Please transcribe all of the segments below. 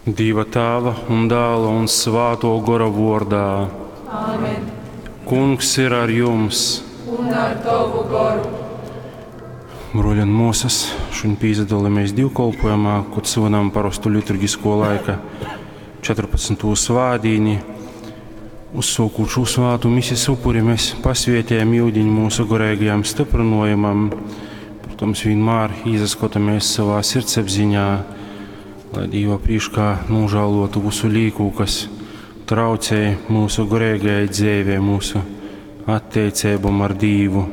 Dīva Tāva un Dāla un Svātō Gora vōrdā. Āmen. Kungs ir ar jums. Un ar tovu goru. Bruoļi un muosys, šudiņ pīsadolamies dīvkolpojumā, kod svinam parostu liturgisko laika 14. svātdīni. Uzsōkūt šū svātu mises upuri, mēs pasvietējam iudiņu mūsu goreigajam styprynojumam. Protams, vienmēr izaskotamies savā sirdsapziņā, lai Dīva prīškā nūžālotu visu līku, kas traucē mūsu goreigajai dzeivei, mūsu attiecībām ar Dīvu.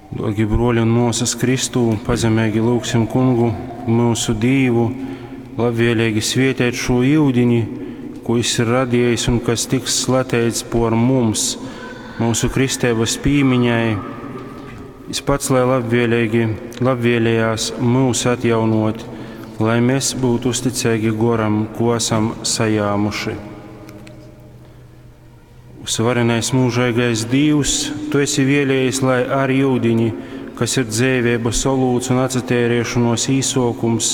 Dārgi bruoļi un muosas Kristū, pazemeigi lūgsim Kungu, mūsu Dīvu, labvēlīgi svietēt šo iudiņi, ko Jis ir radījis un kas tiks slateits por mums, mūsu kristības pīmiņai. Jis pats, lai labvēlīgi, labvēlējās mūs atjaunot, lai mēs būtu uzticīgi goram, ko esam sajāmuši. Uzvarenais mūžīgais Dievs, Tu esi vēlējies, lai ar iudiņi, kas ir dzēvības olūts un atcerēšanos īsokums,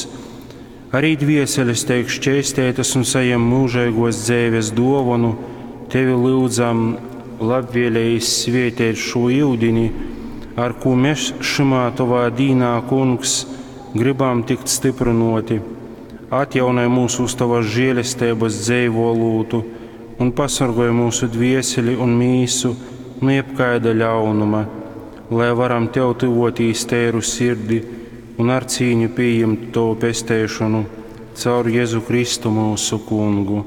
arī dvieseles tiek šķēstētas un saņem mūžīgos dzēves dovanu, Tevi lūdzam, labvēlējis svietēt šo iudiņi, ar ko mēs šimā Tavā dīnā, Kungs, gribam tikt stiprinoti. Atjaunai mūsu uz Tavas žēlestības dzeivolūtu un pasargoj mūsu dvieseli un mīsu no jebkaida ļaunuma, lai varam Tev tuvotīs tēru sirdi un ar cīņu pieņemt Tavu pestēšanu caur Jēzu Kristu mūsu Kungu.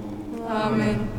Āmen.